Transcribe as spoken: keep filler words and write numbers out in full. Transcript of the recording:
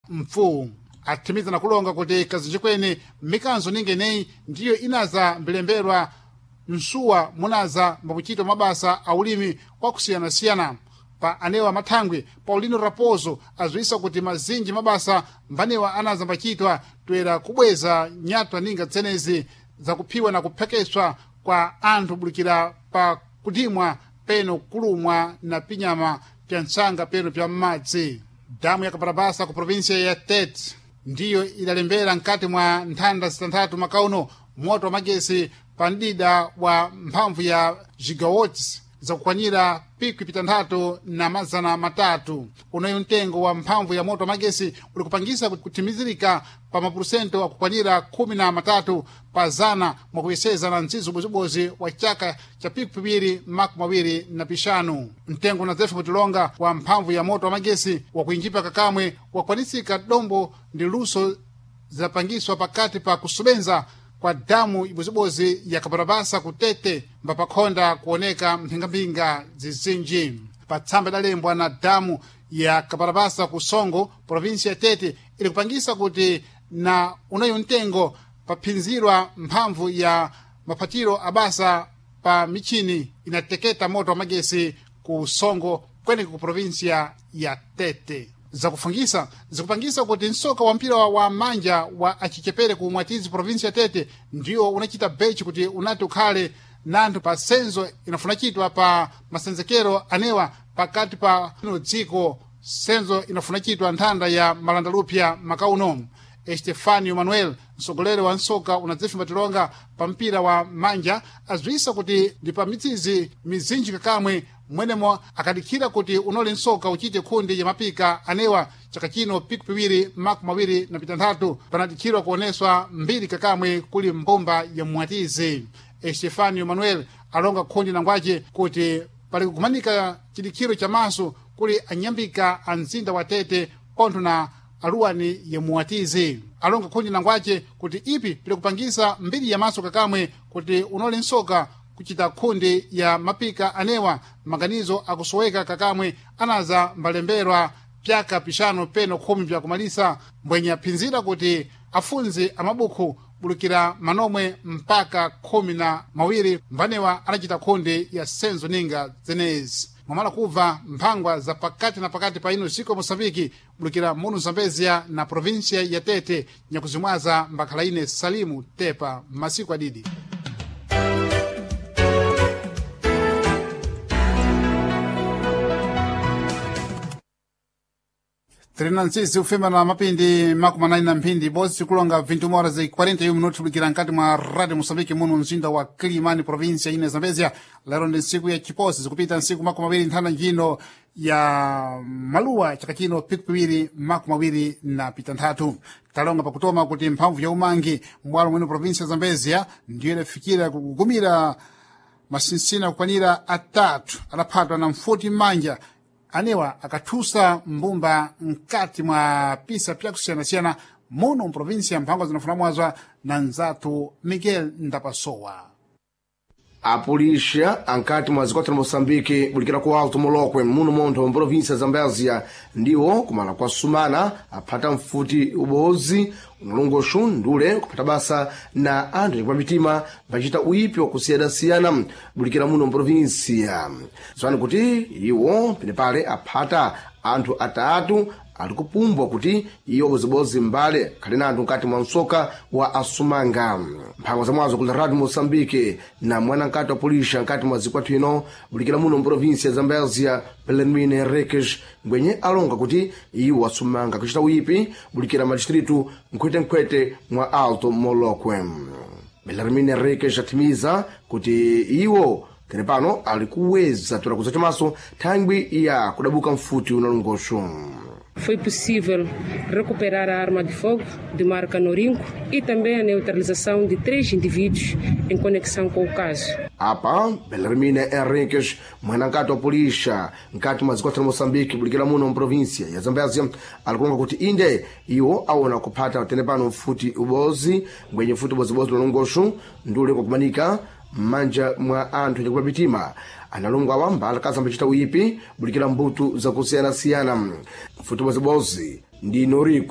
mpfuu. Athimiza na kulonga kuti kazinji kwene mikanzo ninga ineyi ndiyo inaza mbilemberwa msuwa munaza mbakuchitwa mabasa a ulimi kwakusiyanasiyana. Pa anewa mathangwi Paulino Raposo aziwisa kuti mazinji mabasa mbanewa anaza mbachitwa toera kubweza nyatwa ninga tsenezi zakuphiwa na kuphekeswa kwa anthu bulikira pa kudimwa peno kulumwa na pinyama pya ntsanga peno pya m'madzi. Damu ya Kaparabasa ku provinsia ya Tete ndiyo idalembera mkati mwa nthanda zitanthatu makauno moto wa magesi pa mdida wa mphamvu ya gigawatts zakukwanira pikwi pitanthatu na mazana matatu. Unoyu mtengo wa mphamvu ya moto wa magesi uli kupangisa kuthimizirika pa mapurusento akukwanira khumi na matatu pa zana mwakuyeseza na mtsidzo ubozibozi wa chaka cha pikwi piwiri makumi mawiri na pixanu. Mtengo na zefe kutilonga wa mphamvu ya moto wa magesi wakuinjipa kakamwe wakwanisika dombo ndi luso zidapangiswa pakati pa kusubenza kwa damu ibozibozi ya Kaparabasa kutete mbapakhonda kuoneka mphingamphinga zizinji. Pa tsamba idalembwa na damu ya Kaparabasa ku Songo, provinsia ya Tete, ili kupangisa kuti na unayo mtengo paphinzirwa mphamvu ya maphatiro abasa pa michini inateketa moto wa magesi ku Songo kweneko ku provinsia ya Tete. Zakufungisa zikupangisa kuti msoka wa mpira wa manja wa achichepere ku Mwatizi provinsi ya Tete ndiwo unachita bechi kuti unati ukhale nanthu pa senzo inafuna chitwa pa masenzekero anewa pakati pa dziko senzo inafuna chitwa nthanda ya malandalupya makauno. Estefanio Manuel mtsogoleri wa nsoka unadzifimba tilonga pa mpira wa manja aziwisa kuti ndi pa mitsizi mizinji kakamwe mwenemo akadikhira kuti unoli nsoka uchite khundi ya mapika anewa chaka chino piku piwiri makumi mawiri na pitanthatu panadikhirwa kuoneswa mbiri kakamwe kuli mbumba ya Mwatizi. Estefanio Manuel alonga khundi nangwace kuti pali kukumanika chidikhiro cha maso kuli anyambika a mzinda wa Tete pontho na aluwani ya Muwatizi. Alonga khundi nangwace kuti ipi pili kupangisa mbiri ya maso kakamwe kuti unoli nsoka kuchita khundi ya mapika anewa maganizo akusoweka kakamwe anaza mbalemberwa pyaka pixanu peno khumi pyakumalisa mbwenye aphinzira kuti afunzi amabukhu bulukira manomwe mpaka khumi na mawiri mbanewa anachita khundi ya senzo ninga zenezi. Mwamala kubva mphangwa za pakati na pakati pa ino ziko Moçambique bulukira munu Zambezia na provinsia ya Tete nyakuzimwaza mbakhala ine Salimu Tepa masiku adidi. Trinantsisi ufema na mapindi makumi anayi na mphindi ibodzi kulonga vintu horas e quarenta e um minutos kulikira nkati mwa Radio Moçambique muno mzinda wa Kilimani província ine Zambezia. Lero ndi ntsiku ya chiposi zikupita ntsiku makumi mawiri nthanda njino ya maluwa chaka chino piku piwiri makumi mawiri na pitanthatu. Talonga pakutoma kuti mphamvu ya umangi m'bwalo mwino província ya Zambezia ndiyo idafikira kugumira masinsina kukwanira atatu adaphatwa na mfuti m'manja anewa akathusa mbumba mkati mwa pisa pyakusiyanasiyana muno mprovinsia mphangwa zinafuna mwazwa na nzathu Miguel Ndapasowa. Apulixa ankati mwa zikwathu na Moçambique bulikira ku Alto Molokwe muno montho mprovinsia ya Zambézia ndiwo kumala kwa Sumana aphata mfuti ubozi unalongoxu ndule kuphata basa na anthu kwa mitima pachita uipi wakusiyanasiyana bulikira muno mprovinsia. Zwani kuti iwo penepale aphata anthu atatu ali kupumbwa kuti iwo bozibozi mbale khali na anthu mkati mwa msoka wa asumanga. Mphango za mwazo kula Radio Moçambique na mwana nkati wa pulisha nkati mwa zikwathu ino bulikira muno mprovinsia ya Zambézia Belarmine Henriques ngwenye alonga kuti iwo asumanga kuchita uipi bulikira madistritu nkhwetenkhwete mwa Alto Molokwe. Belarmine Henriques athimiza kuti iwo tenepano ali kuweza tola chamaso thangwi ya kudabuka mfuti unalongoxo. Foi possível recuperar a arma de fogo de marca Norinco e também a neutralização de três indivíduos em conexão com o caso. Apa, Belarmina Henriques, mwana nkati wa pulixa nkati mwa zikwathu na Moçambique bulikira muno mprovinsia ya Zambézia alikulonga kuti inde iwo awona kuphata tenepano mfuti ubozi ngwenye mfuti ubozibozi lonongoxo ndule kwakumanika m'manja mwa anthu chakupa mitima analongo awa mbala kazambacita uipi bulikira mbuto zakusiyanasiyana mfuti ubozibozi ndi Noriko.